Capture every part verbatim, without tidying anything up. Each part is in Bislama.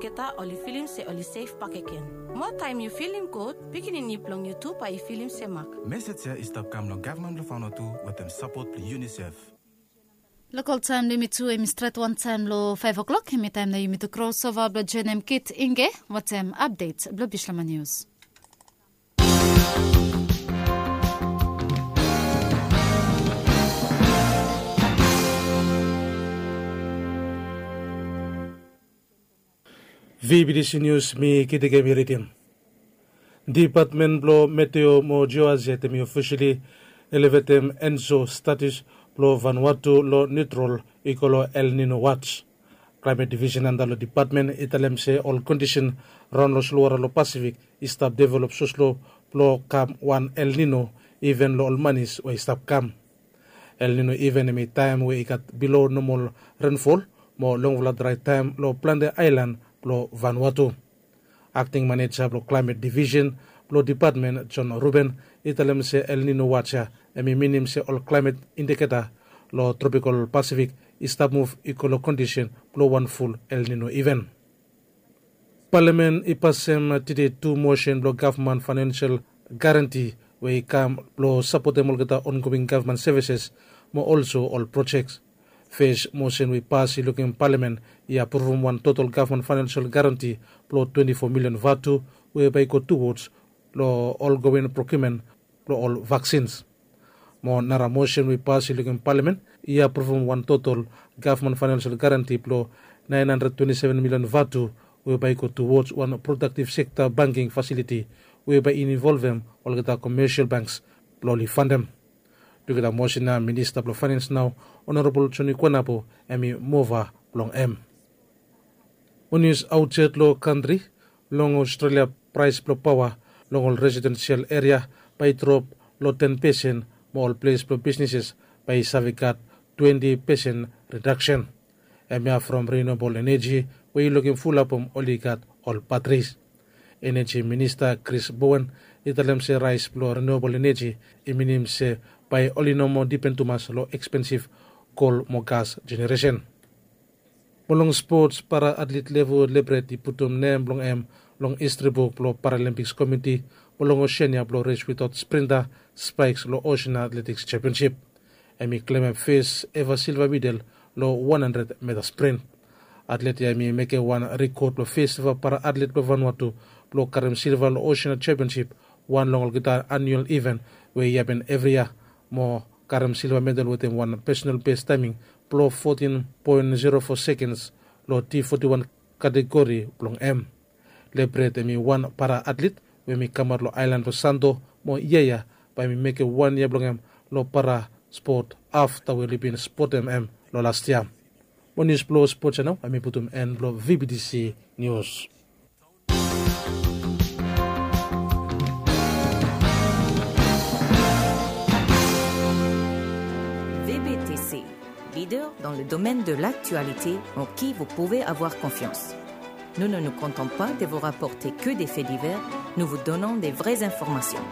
Olgeta oli filim se oli sef bakegen. Moa taem yu filim gud, pikinini blong yu tu bae i filim se mak. Mesej ya i stap kam long gavman blong Vanuatu wetem sapot blong UNICEF. Lokal taem blong yumi tu hem i stret wantaem long faef o'klok, hem i taem nao yumi tu krosova blong joenem Kit Inge wetem apdet blong Bislama Nius. VBTC Nius, mi Kit Inge mi ridim. Dipatmen blong Meteo mo Jiohazed hem i ofisali elevetem ENSO status blong Vanuatu long niutrol i go long El Nino wats. Klaemet divisen anda long dipatmen i talem se ol kondisen raon long solwara long Pasifik i stap develop sloslo blong kam wan El Nino iven long ol manis we i stap kam. El Nino iven hem i taem we i gat bilo nomol renfol mo longfala drae taem long plante aelan blong Vanuatu. Akting maneja blong klaemet divisen blong dipatmen John Ruben i talem se El Nino wats ya hem i minim se ol klaemet indiketa long tropikol Pasifik i stap muv i go long kondisen blong wan ful El Nino iven. Palamen i pasem tide tu mosen blong gavman faenensel garanti we i kam blong sapotem olgeta ongoing gavman sevises mo olso ol projek. Fes mosen we i pas i lukim palamen i apruvum wan total gavman faenensel garanti blong twenti fo milian vatu we bae i go tuwods long ongoing prokiumen blong ol vaksins. Mo nara mosen we i pas i lukim palamen i apruvum wan total gavman faenensel garanti blong naen handred twenti seven milian vatu we bae i go tuwods wan prodaktiv sekta banking fasiliti we bae i involvem olgeta komesial banks blong oli fandem. Tugeta mosen ya Minista blong Faenens nao, Onorabol Joni Kuanapo, hem i mova blong hem. Mo nius aotsait long kantri, long Australia praes blong paoa long ol residensial eria bae i drop long ten pesen mo ol ples blong bisneses bae i save gat twenti pesen redaksen. Hemia from renewabol eneji we i lukim fulap oli gat ol batris. Eneji Minista Chris Bowen i talem se raes blong renewabol eneji i minim se bae oli no moa dipen tumas long ekspensif kol mo gas jeneresen. Mo long spots, para atlet Levu Lebret i putum nem blong hem long histri buk blong Paralimpiks Komiti mo long Oseania blong res witaot sprinta spaeks long Osean Atletiks Sempionsip. Hem i klemem fes eva silva medal long wan handred meta sprint. Atlet ya hem i mekem wan rekod blong fes eva para atlet blong Vanuatu blong karem silva long Osean Sempionsip, wan long olgeta anual iven we i hapen evri yia, mo karem silva medal wetem wan pesonal bes taeming blong fotin poen zero fo sekens long T foti wan kategori blong hem. Lebret hem i wan para atlet we hem i kamaot long aelan blong Santo, mo yia ya bae hem i mekem wan yia blong hem long para spot afta we oli bin spotem hem long las yia. Mo nius blong spot ya nao hem i putum en blong VBTC Nius. VBTC, leader dans le domaine de l'actualité en qui vous pouvez avoir confiance. Nous ne nous contentons pas de vous rapporter que des faits divers, nous vous donnons des vraies informations.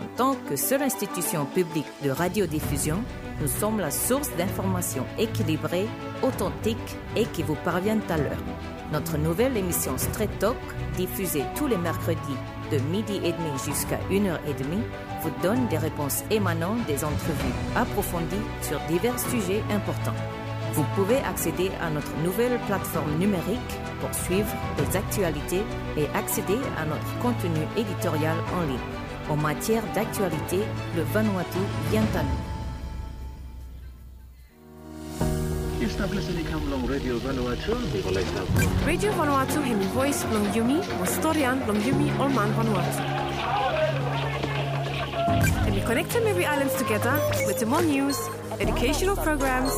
En tant que seule institution publique de radiodiffusion, nous sommes la source d'informations équilibrées, authentiques et qui vous parviennent à l'heure. Notre nouvelle émission Straight Talk, diffusée tous les mercredis de midi et demi jusqu'à une heure et demie, vous donne des réponses émanant des entrevues approfondies sur divers sujets importants. Vous pouvez accéder à notre nouvelle plateforme numérique pour suivre les actualités et accéder à notre contenu éditorial en ligne. En matière d'actualité, le Vanuatu vient à nous. Yu stap lisin i kam long Radio Vanuatu. Radio Vanuatu hemi voes blong yumi, mo storian blong yumi ol man Vanuatu. Hemi konektem evri aelan tugeta wetem ol nius, educational programs,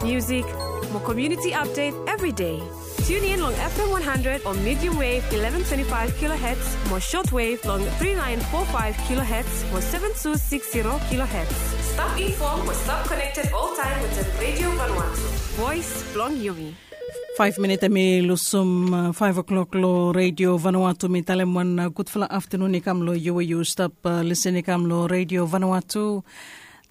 music, mo community update every day. Tune in long FM one hundred o medium wave eleven twenty-five kilohertz, mo shortwave long three nine four five kilohertz mo seven two six zero kilohertz. Stap informed mo stap connected all time wetem Radio Vanuatu. Voes blong yumi. Faef minit hemi lusum faef o'klok long Radio Vanuatu. Mi talem wan gudfala aftenun i kam long yu we yu stap lisin i kam long Radio Vanuatu.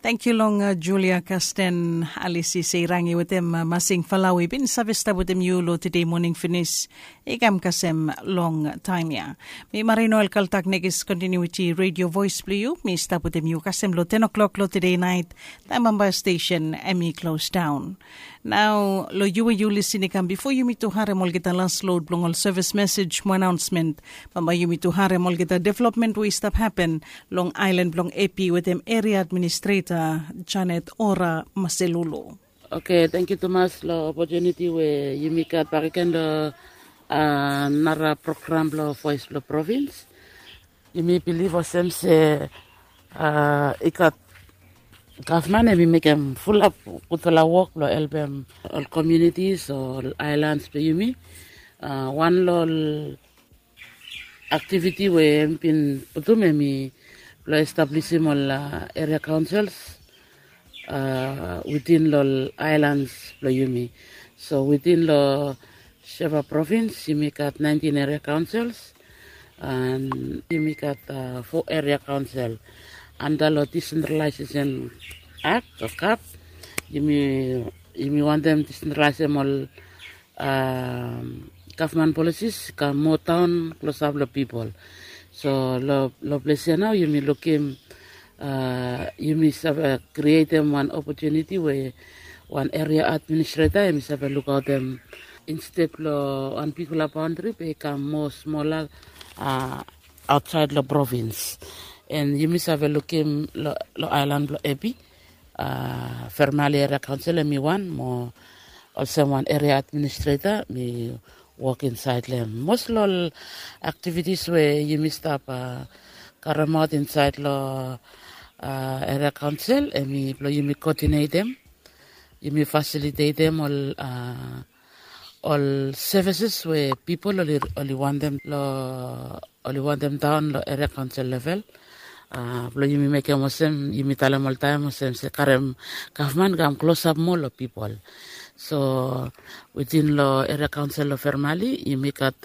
Tangkiu long Julia Kasten Alisi Seirangi wetem Masing Falawi bin save stap wetem yu long tede moning finis. I kam kasem long taem ya. Mi Marino El Kaltak, nekis kontinuiti redio voes blong yu mi stap wetem yu kasem long ten o'clock long tede naet, taem bambae stesen em i klos daon. Nao long yu we yu lisin i kam bifo yumi tu harem olgeta las lod blong ol sevis mesej mo anaonsmen. Bambae yumi tu harem olgeta developmen we i stap hapen long aelan blong Epi wetem eria administreta Janet Ora Maselulu. Oke, tangkiu tumas long opotuniti we yumi gat bakegen long nara program blong Voes blong Provins. Yumi bilif olsem se i gat gavman em i mekem fulap gudfala wok blong helpem ol komunitis o ol aelans blong yumi. Wan long ol aktiviti we em bin putum em i blong establisim ol eria kaonsels witin long ol aelans blong yumi. So witin long Sheva provins yumi gat naentin eria kaonsels an yumi gat fo eria kaonsel anda long disentralaisesen akt o kap. Yumi wantem disentralaisem ol gavman polisis i kam moa daon klosap long pipol. So long ples ya nao yumi lukim yumi save krietem wan opotuniti we wan eria administreta em i save lukaotem insted long wan bigfala baondri be i kam moa smola aotsaed long provins. An yumi save lukim long aelan blong Epi, Fermali eria kaonsel em i wan mo olsem wan eria administreta mi wok insaed long em. Mos long ol aktivitis we yumi stap karemaot insaed long eria kaonsel em i blong yumi koodinetem, yumi fasilitetem ol ol sevises we pipol oli wantem long oli wantem daon long eria kaonsel level. Blong yumi mekem olsem yumi talem oltaem olsem se karem gavman i kam klosap moa long pipol. So witin long eria kaonsel long Fermali yumi gat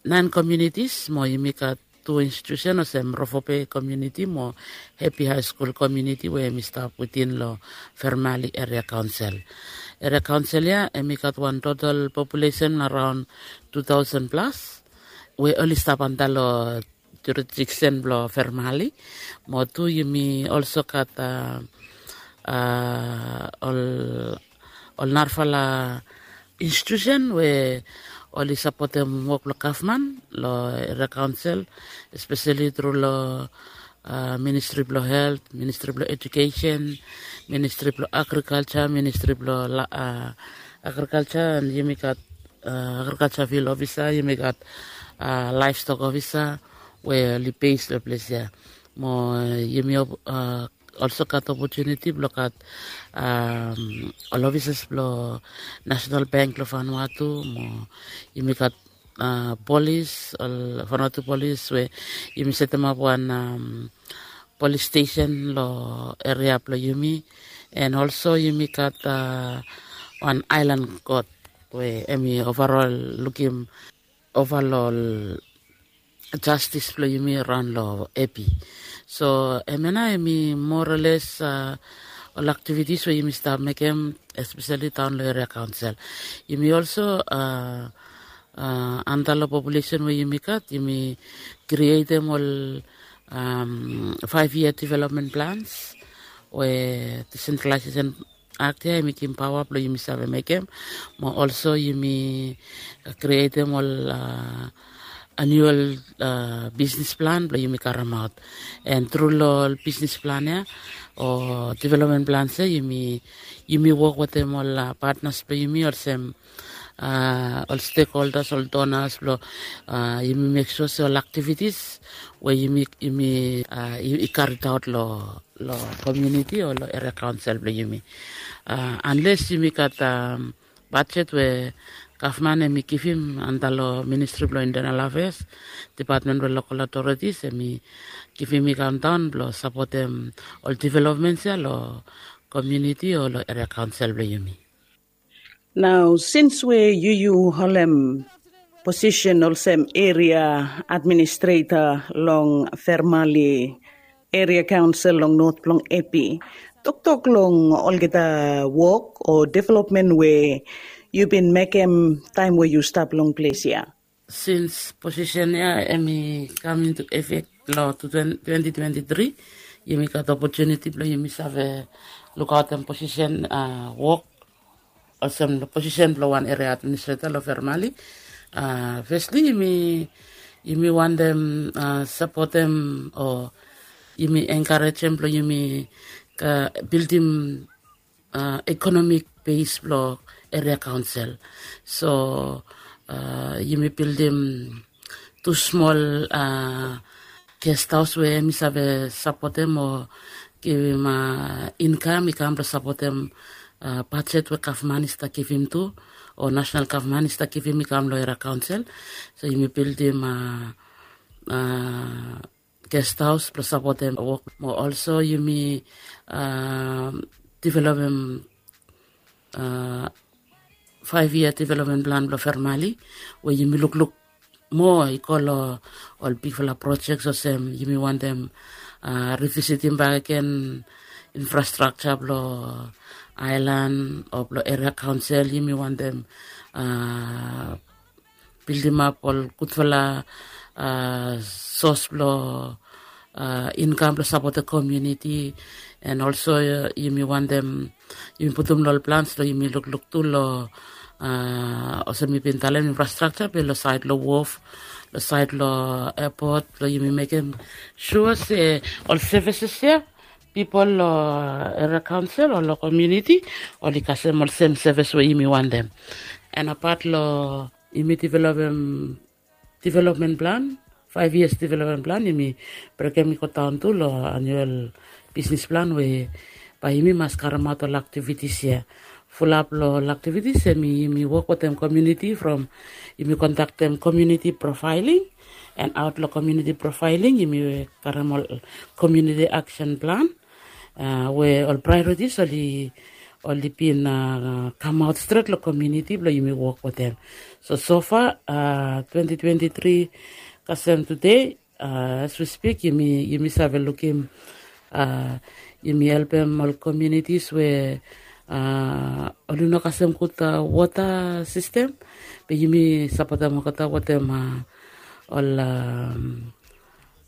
naen komunitis mo yumi gat tu institusen olsem Rofobei komuniti mo Hepi Haeskul komuniti we em i stap witin long Fermali eria kaonsel. Eria kaonsel ya em i gat wan total populesen araon tu taosen plas we oli stap anda long jurisdiksen blong Fermali. Mo tu yumi olso gat ol ol narafala institusen we oli sapotem wok blong gavman long eria kaonsel, espeseli tru long ministri blong helt, ministri blong ejukesen, ministri blong agrikalja, ministri blong agrikalja. An yumi gat agrikalja fil ofisa, yumi gat laevstok ofisa we oli bes long ples ya. Mo yumi olso gat opotuniti blong gat ol ofisas blong Nasenal Bank blong Vanuatu mo yumi gat polis, ol Vanuatu polis we yumi setemap wan polis stesen long eria blong yumi. An olso yumi gat wan aelan kot we em i ovarol lukim ova long ol jastis blong yumi raon long Epi. So hemia nao hemi moa o les ol aktivitis we yumi stap mekem, espeseli daon long eria kaonsel. Yumi olso anda long populesen we yumi gat, yumi krietem ol faef yia developmen plans we disentralaesesen akt ya hemi givim paoa blong yumi save mekem. Mo olso yumi krietem ol aniual bisnis plan blong yumi karemaot. An tru long ol bisnis plan ya o developmen plans ya yumi wok wetem ol patnas blong yumi olsem ol stekholdas, ol donas blong yumi mek sua se ol aktivitis we yumi i karitaot long long komuniti o long eria kaonsel blong yumi. Anles yumi gat bajet we gavman hemi givim anda long ministri blong intenal afeas, depatmen blong lokal otoritis, hemi givim i kamdaon blong sapotem ol developmens ya long komuniti o long eria kaonsel blong yumi. Nao sins we yu yu holem posisen olsem eria administreta long Fermali Eria Kaonsel long Not blong Epi. Toktok long olgeta wok o developmen we yu bin mekem taem we yu stap long ples ya. Sins posisen ya em i kam into efek long twenty twenty three, yumi gat opotuniti blong yumi save lukaotem posisen wok olsem long posisen blong wan eria administreta long Fermali. Fesli yumi wantem sapotem o yumi enkarejem blong yumi bildim ekonomik bes blong eria kaonsel. So yumi bildim tu smol gest haos we em i save sapotem o givim inkam i kam blong sapotem bajet we gavman i stap givim tu o nasenal gavman i stap givim i kam long eria kaonsel. So yumi bildim gest haos blong sapotem wok mo olso yumi developem faev yia developmen plan blong Fermali we yumi lukluk moa i go long ol bigfala projek olsem yumi wantem rivisitim bakegen infrastrakja blong aelan o blong eria kaonsel. Yumi wantem bildimap ol gudfala sos blong inkam blong sapotem komuniti. En olso yumi wantem yumi putum long ol plans long yumi lukluk tu long olsem mi bin talem infrastrakja be long saed long wof, long saed long epot blong yumi mekem sua se ol sevises ya pipol long eria kaonsel o long komuniti oli kasem ol sem sevis we yumi wantem. En apat long yumi developem developmen plan, faev yias developmen plan yumi brekem i godaon tu long anuel bisnis plan we bae yumi mas karemaot ol aktivitis ya. Fulap long ol aktivitis em yumi wok wetem komuniti from yumi kondaktem komuniti profaeling, en aot long komuniti profaeling yumi karem ol komuniti aksen plan we ol praeoritis oli bin kamaot stret long komuniti blong yumi wok wetem. So sofa twenty twenty three kasem tude, as we spik yumi save lukim yumi helpem ol komunitis we oli no kasem gud wota sistem, be yumi sapotem olgeta wetem ol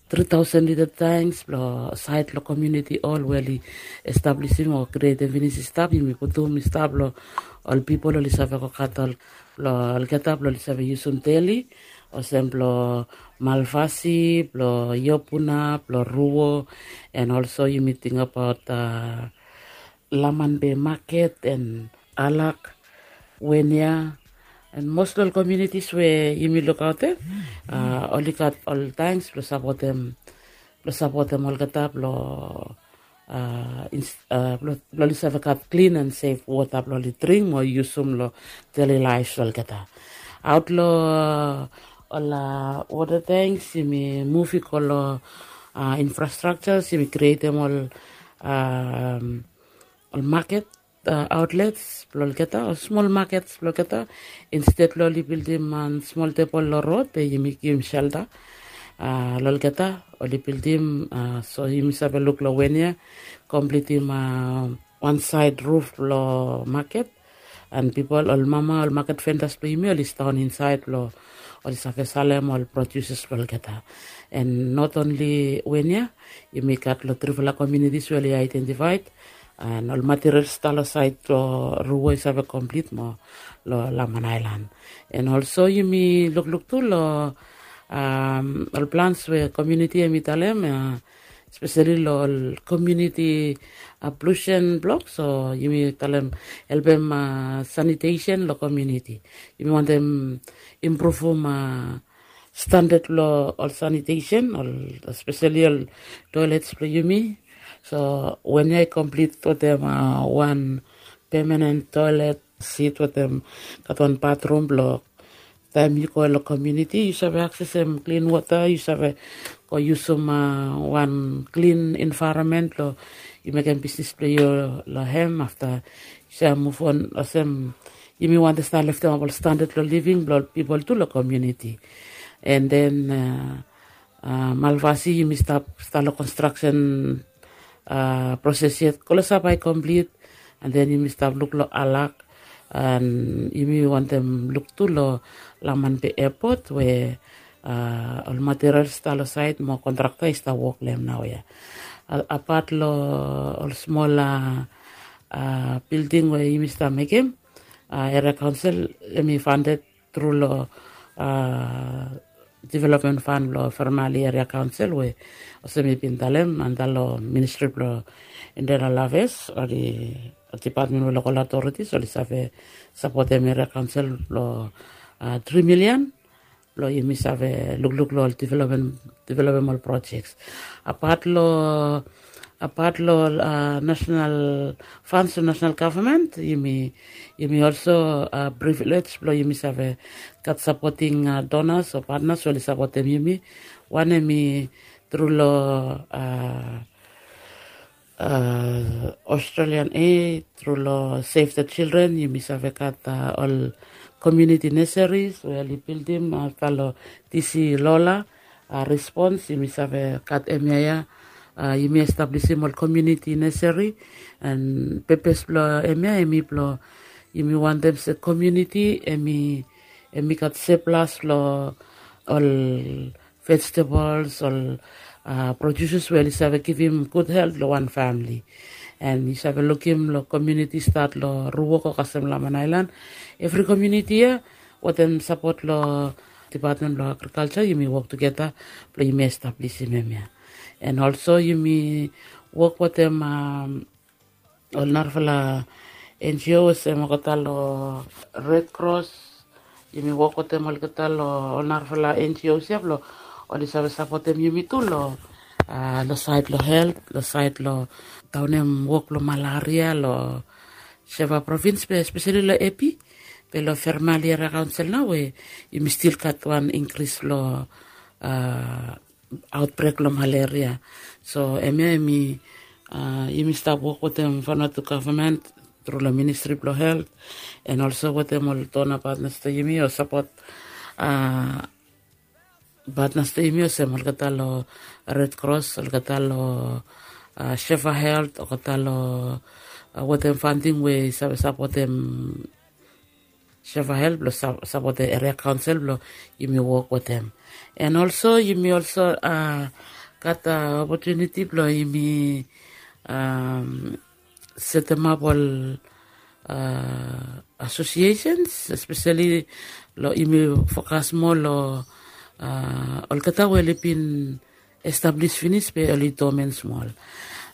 tri taosen lita tanks blong saed long komuniti hol we oli establisim o krietem finis i stap, yumi putum i stap long ol pipol oli save go gat ol blong olgeta blong oli save yusum deli, olsem blong Malvasi, blong Iopuna, blong Ruo, en olso yumi tingbaot Laman Be maket en Alak, Wenia, en mos long ol komunitis we yumi lukaotem oli gat ol tanks blong sapotem blong sapotem olgeta blong blong oli save gat klin en sef wota blong oli dring mo yusum long deli laef blong olgeta. Aot long ol wota tanks yumi muv i go long infrastrakja, yumi krietem ol ol maket aotlets blong olgeta o smol makets blong olgeta. Insted long oli bildim wan smol tebol long rod be yumi givim selta long olgeta oli bildim. So yumi save luk long wen ya komplitim wan saed ruf blong maket, en pipol ol mama ol maket vendas blong yumi oli staon insaed blong oli save salem ol produses blong olgeta. En not onli wen ya, yumi gat long trifala komunitis we oli aedentifaed, en ol material stap long saed blong Ruo i save komplit mo long Laman Aelan. En olso yumi lukluk tu long ol plans we komuniti hemi talem, speseli long ol komuniti ablusen blok, so yumi talem helpem sanitesen long komuniti. Yumi wantem impruvum standad blong ol sanitesen, speseli ol toelets blong yumi. So wen ya i komplit wetem wan pemanen toelet sit wetem gat wan batrum blong taem yu go long komuniti yu save aksesem klin wota, yu save go yusum wan klin envaeronmen blong yu mekem bisnis blong yu long hem. Afta yu save muvon olsem yumi wantem stap leftemap ol standad blong living blong ol pipol tu long komuniti. En den Malvasi yumi stap stap long konstraksen proses yet, klosap bai komplit. And then yumi stap luk long alak, and yumi wantem luk tu long laman be epot we ol material stap long sait mo kontrakta i stap wok long em nao ya. Apat long ol smol bilding we yumi stap mekem, eria kaonsel em i fandet tru long development fan blong Fermali Eria Kaonsel we olsem mi bin talem antap long ministri blong Indera Laves o dipatmen we lokal otoritis oli save sapotem eria kaonsel blong tri milian blong yumi save lukluk long ol developem ol projeks. Apat long apat long nasenal fans long nasenal gavman, yumi yumi olso privilej blong yumi save gat sapoting donas o patnas we oli sapotem yumi. Wan em i tru long Australian Aid, tru long Save the Children yumi save gat ol komuniti neseris we oli bildim afta long disi lola. Respons yumi save gat emia ya. Yumi establisim ol komuniti neseri, and pepes blong emia em i blong yumi wantem se komuniti em i em i gat seplas long ol vejetables, ol produses we oli save givim gud helt long wan famili. And yu save lukim long komuniti stat long Ruok o kasem Laman Ailan, evri komuniti ya wetem sapot long dipatmen blong agrikalja yumi wok tugeta blong yumi establisim em ya. And olso yumi wok wetem ol narafala NGO olsem olgeta long Red Cross. Yumi wok wetem olgeta long ol narafala NGO ya blong oli save sapotem yumi tu long long sait long helt, long sait long daunem wok blong malaria long Sheva provins be espeseli long Epi be long Fermali Eria Kaonsel nao we yumi stil gat wan inkris long autbrek long malaria. So emia em i yumi stap wok wetem Vanuatu gavman tru long ministri blong helt, and olso wetem ol dona patnas blong yumi o sapot patnas blong yumi olsem olgeta long Red Cross, olgeta long Sheva Helt, olgeta long wetem fanting we i save sapotem Sheva Helt blong sapotem eria kaonsel blong yumi wok wetem. And olso yumi olso gat opotuniti blong yumi setemap ol asosiesens, espeseli long yumi fokas moa long olgeta we oli bin establis finis be oli domen smol,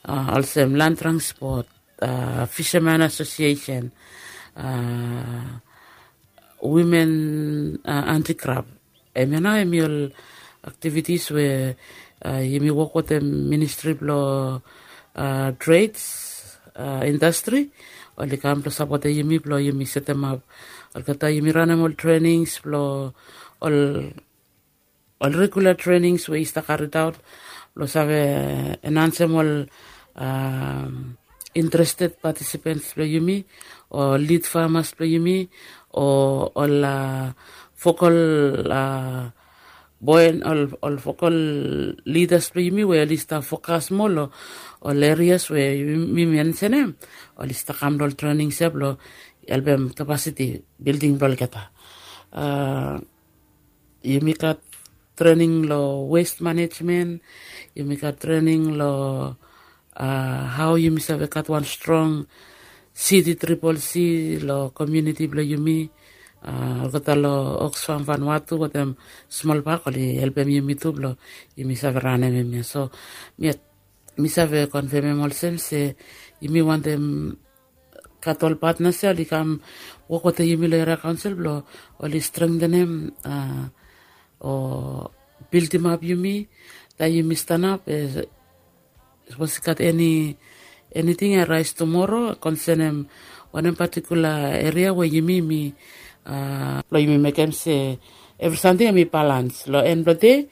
olsem Land Transport, Fisherman Association, Women Anti-Graft. Emia nao em i ol aktivitis we yumi wok wetem ministri blong trades, indastri, oli kam blong sapotem yumi blong yumi setemap olgeta yumi ranem ol trenings blong ol ol regula trenings we i stap karidaot blong save enansem ol interested patisipens blong yumi, o lid famas blong yumi, o ol vokal boen ol vokal lidas blong yumi we oli stap fokas moa long ol erias we mi mensenem. Oli stap kam long ol trenings ya blong helpem kapasiti bilding blong olgeta. Yumi gat trening long west manejmen, yumi gat trening long hao yumi save gat wan strong city triple c long komuniti blong yumi. Olgeta long Oxfam Vanuatu wetem smol bak oli helpem yumi tu blong yumi save ranem hemia. So mi save konfemem olsem se yumi wantem gat ol patnas ya oli kam wok wetem yumi long eria kaonsel blong oli strengtenem o bildimap yumi. Taem yumi stanap, sapos i gat eni eniting i rais tumoro konsenem wanem patikula eria we yumi mi blong yumi mekem se evri samting em i balans long en blong dei.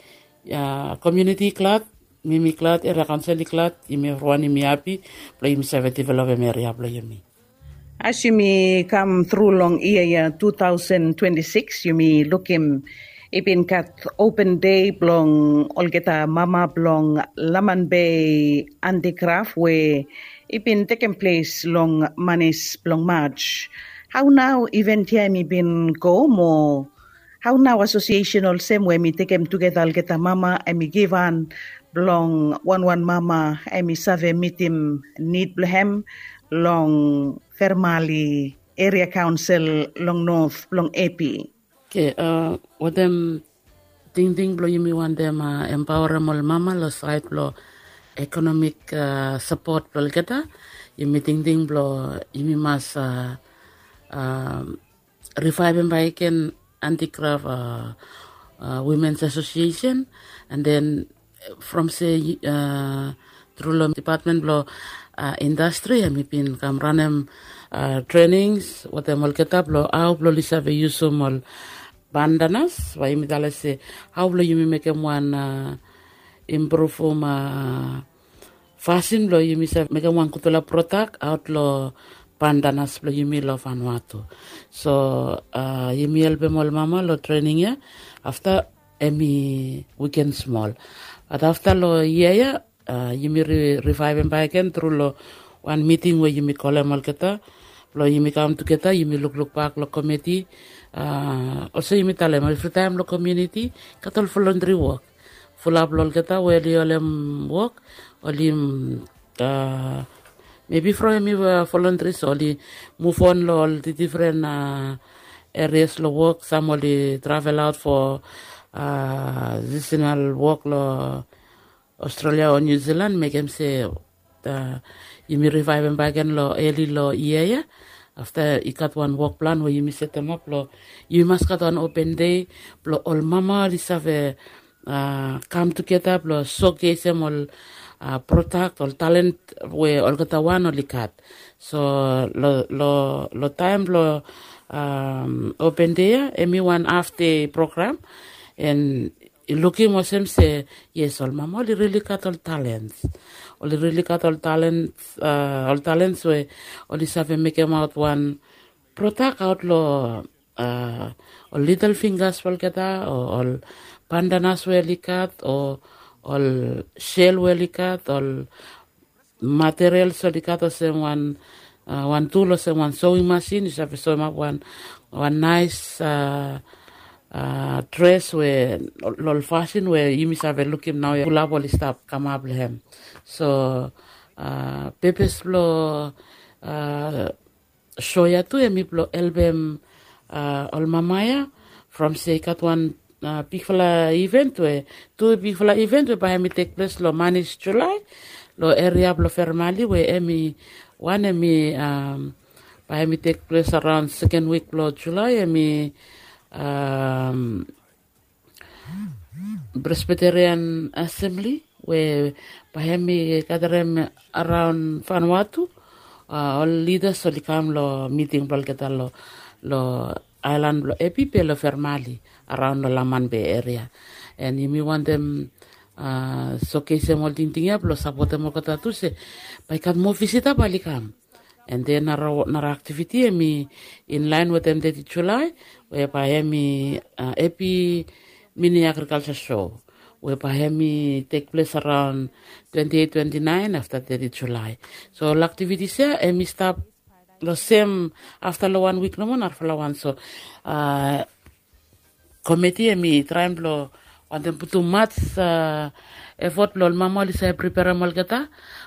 Komuniti i glad, mi mi glad, eria kaonsel i glad, yumi evriwan yumi hapi blong yumi save developem eria blong yumi. As yumi kam tru long yia ya two thousand twenty-six, yumi lukim I bin gat open dei blong olgeta mama blong Laman Bay Antikraf we i bin tekem ples long manis blong Maj. Hau nau iven ya em i bin go mo hau nau asosiesen olsem we em i tekem tugeta olgeta mama em i givhan blong wanwan mama em i save mitim nid blong hem long Fermali Eria Kaonsel long Not blong Epi. Oke, wetem tingting blong yumi wantem empaorem ol mama long sait blong ekonomik sapot blong olgeta, yumi tingting blong yumi mas rivaevem baek gen Antikraf Wimens Asosiesen, and then from se tru long depatmen blong indastri em i bin kam ranem trenings wetem olgeta blong hau blong oli save yusum ol bandanas, bae yumi talem se hau blong yumi mekem wan impruvum fasin blong yumi save mekem wan gudfala prodak aot long bandanas blong yumi long Vanuatu. So yumi helpem ol mama long trening ya. Afta em i wiken smol, bat afta long yia ya yumi rivaevem baek gen tru long wan miting we yumi kolem olgeta blong yumi kam tugeta, yumi lukluk bak long komiti. Olsem yumi talem, evritaem long komuniti gat ol voluntri wok. Fulap long olgeta we oli holem wok, oli mebi from em i voluntri, so oli muvon long ol difren erias long wok. Sam oli travel aot fo sisinal wok long Australia o New Zealand, mekem se yumi rivaevem baek gen long eli long yia ya. Afta i gat wan wok plan we yumi setemap long yumi mas gat wan open dei blong ol mama oli save kam tugeta blong sokesem ol prodak, ol talen we olgeta wan oli gat. So long taem blong open dei ya em i wan haf dei program, en i lukim olsem se yes, ol mama oli rili gat ol talens. Oli rili gat ol talens, ol talens we oli save mekemaot wan prodak aot long ol lidel finggas blong olgeta, o ol bandanas we oli gat, o ol sel we oli gat, ol materials oli gat olsem wan wan tul olsem wan sowing masin, yu save sowemap wan wan naes dres we long ol fasin we yumi save lukim naoia, fulap oli stap kamap long hem. So pepes blong so ya tu em i blong helpem ol mama ya from se i gat wan bigfala iven we tu bigfala iven we bae hem i tekples long manis Julae long eria blong Fermali, we hem i wan hem i bae hem i tekples araon seken wik blong Julae, hem i Presbiterian Asemli, we bae hem i gadarem araon Vanuatu ol lidas oli kam long miting blong olgeta long aelan blong Epi be long Fermali araon long Laman Be eria. En yumi wantem sokesem ol tingting ya blong sapotem olgeta tu se bae i gat moa visita bae oli kam. En den nara aktiviti hem i inlaen wetem teti Julae, we bae hem i Epi Mini Agrikalja So, we bae hem i tekples araon twenti eit twenti naen afta teti Julae. So ol aktivitis ya hem i stap long sem afta long wan wik nomo narafala wan. So komiti hem i traem blong wantem putum mats efot blong ol mama oli save priperem olgeta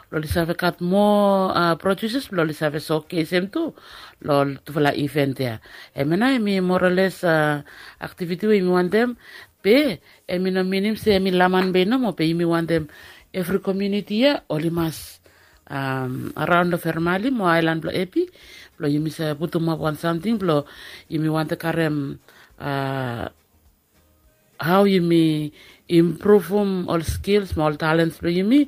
blong oli save gat moa produses blong oli save sokesem tu long ol tufala iven ya. Hemia nao hem i moraoles aktiviti we yumi wantem, be hem i no minim se hem i Laman Be nomo, be yumi wantem evri komuniti ya oli mas araon long Fermali mo aelan blong Epi blong yumi save putumap wan samting blong yumi wantem karem hao yumi impruvum ol skils mo ol talens blong yumi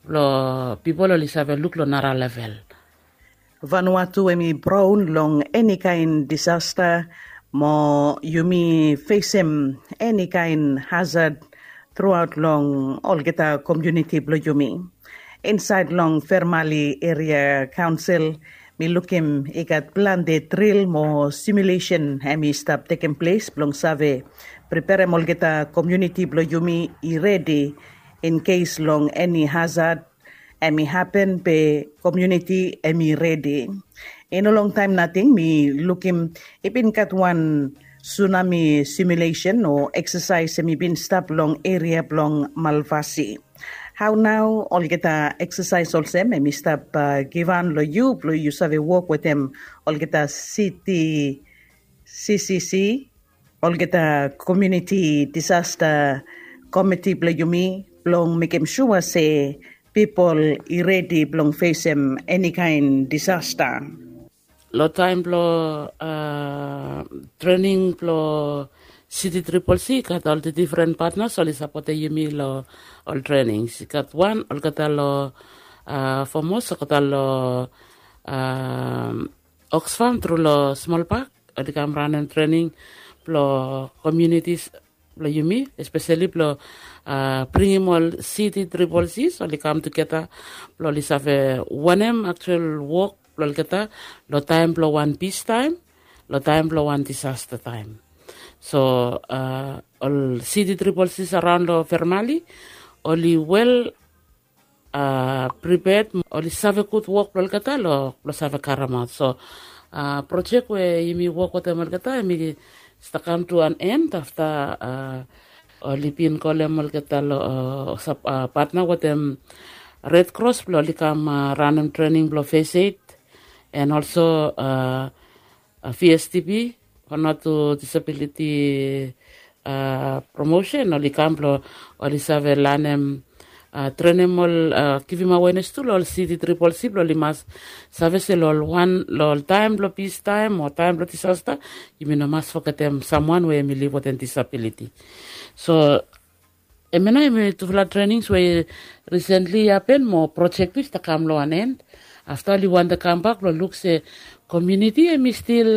blong pipol oli save luk long nara level. Vanuatu hem i praon long enikaen disasta mo yumi fesem enikaen hazad truaot long olgeta komuniti blong yumi. Insaed long Fermali Eria Kaonsel Mi lukim i gat plante dril mo simulesen hem i stap tekem ples blong save preperem olgeta komuniti blong yumi i redi in kes long eni hazad hem i hapen be komuniti hem i redi. I no longtaem nating mi lukim i bin gat wan sunami simulesen o eksasaes hem i bin stap long eria blong Malvasi. Hao nao olgeta eksasaes olsem hem i stap givhan long yu blong yu save wok wetem olgeta siti, CCC, olgeta komuniti disasta komiti blong yumi blong mekem sua se pipol i redi blong fesem enikaen disasta. Long taem blong trening blong Siti Triple C i gat ol difren patnas oli sapotem yumi long ol trenings. I gat wan olgeta long Fomos, olgeta long Oxfam tru long Smolpak, oli kam ranem trening blong komunitis blong yumi, espeseli blong bringim ol Siti Triple Cs oli kam tugeta blong oli save wanem aktual wok blong olgeta long taem blong wan pistaem, long taem blong wan disasta taem. So ol Siti Triple Cs araon long Fermali oli wel priped, oli save gud wok blong olgeta long save karemaot. So projek we yumi wok wetem olgeta hem i stap kam tu an en afta oli bin kolem olgeta long patna wetem Red Cross blong oli kam ranem trening blong fes ed en olso VSDP, Vanuatu Disability Promotion, oli kam blong oli save lanem, trenem ol, givim awenes tu long ol Siti Triple C blong oli mas save se long ol wan long ol taem blong pistaem o taem blong disasta yumi no mas fogetem samwan we hem i liv wetem disabiliti. So hemia nao hemi tufala trenings we i risentli i hapen mo projek tu i stap kam long wan en. Afta oli wantem kambak blong luk se komuniti hemi stil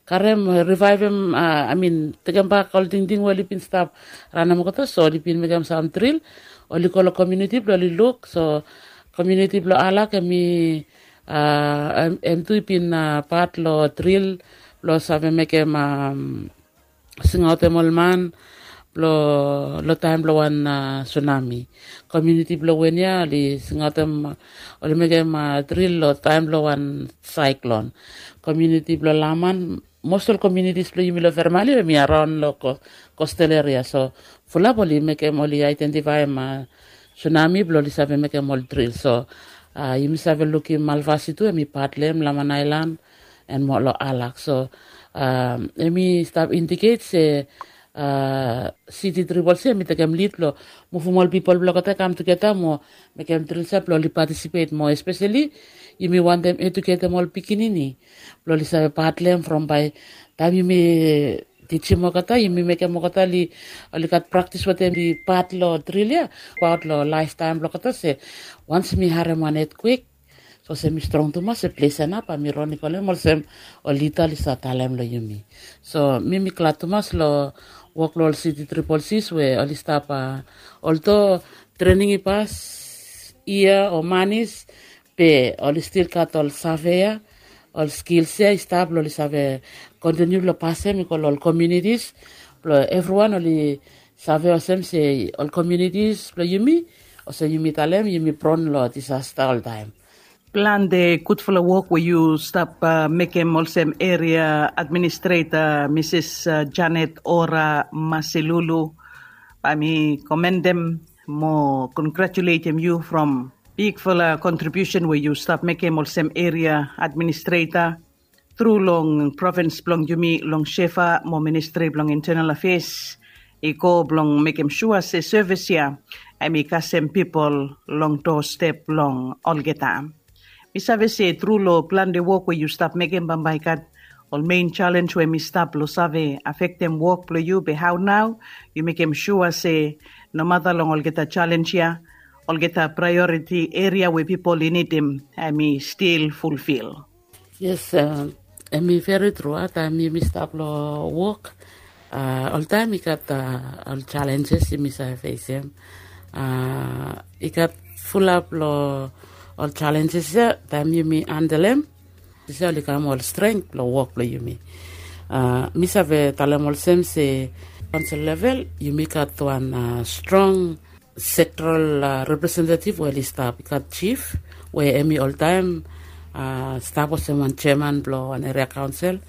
karem, rivaevem, amin, tekembak ol tingting we oli bin stap ranem olgeta. So oli bin mekem sam dril, oli go long komuniti blong oli luk. So komuniti blong Alak hemi, hem tu i bin pat long dril blong save mekem, singaotem ol man blong long taem blong wan sunami. Komuniti blong Wenia oli singaotem, oli mekem dril long taem blong wan saeklon. Komuniti blong Laman, mos ol komunitis blong yumi long Fermali hemi araon long kostal eria. So fulap oli mekem, oli aedentifaem sunami blong oli save mekem ol dril. So yumi save lukim Malvasi tu hemi pat long hem, Laman Aelan, en mo long Alak. So hemi stap indiket se Siti Triple C hemi tekem lid blong muvum ol pipol blong olgeta i kam tugeta mo mekem dril ia blong oli patisipet mo, espeseli yumi wantem eduketem ol pikinini blong oli save pat long hem from bae taem yumi tijim olgeta, yumi mekem olgeta oli gat praktis wetem oli pat long dril ia. Abaot long laeftaem blong olgeta se wans mi harem wan etkwek, sapos hemi strong tumas, se ples ia nao bae mi ron i kolem olsem ol lida oli save talem long yumi. So mi mi glad tumas long wok long ol Siti Triple Cs we oli stap, oldo trening i pas yia o manis, be oli stil gat ol save ia, ol skils ia i stap blong oli save kontiniu blong pasem i go long ol komunitis blong evriwan oli save olsem se ol komunitis blong yumi, olsem yumi talem, yumi pron long disasta oltaem. Plante gudfala wok we yu stap mekem olsem eria administreta, Misis Janet Ora Masilulu. Bae mi komendem mo kongratuletem yu from bigfala kontribiusen we yu stap mekem olsem eria administreta tru long provins blong yumi, long SHEFA mo Ministri blong Intenal Afeas, i go blong mekem sua se sevis ia hemi kasem pipol long dostep blong olgeta. Mi save se tru long plante wok we yu stap mekem, bambae i gat ol mein jalenj we hemi stap long save afektem wok blong yu, be hao nao yu mekem sua se nomata long olgeta jalenj ia, olgeta praeoriti eria we pipol i nidim hemi stil fulfil? Yes, hemi veri tru. Taem yumi stap long wok, oltaem i gat ol jalenjes yumi save fesem. I gat fulap long Ol challenges ya taem yumi handel em, dise oli kam ol strength blong wok blong yumi. Mi save talem olsem se, kaonsel level yumi gat wan strong sektoral representative we oli stap, i gat chief we em i oltaem stap olsem wan chairman blong wan eria kaonsel.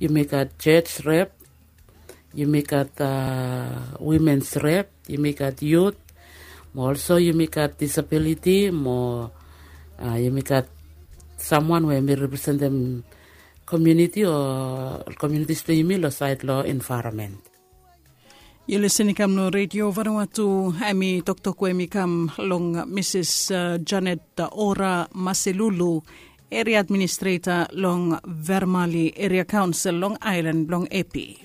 Yumi gat judge rep, yumi gat womens rep, yumi gat youth, mo olso yumi gat disability, mo yumi gat samwan we em i representem komiuniti o komiunitis blong yumi long saed long envaeronmen. Yu lisen i kam long redio vanua tu. Em i toktok we em i kam long misis janet ora maselulu, eria administreta long vermali eria kaonsel long aelan blong epi.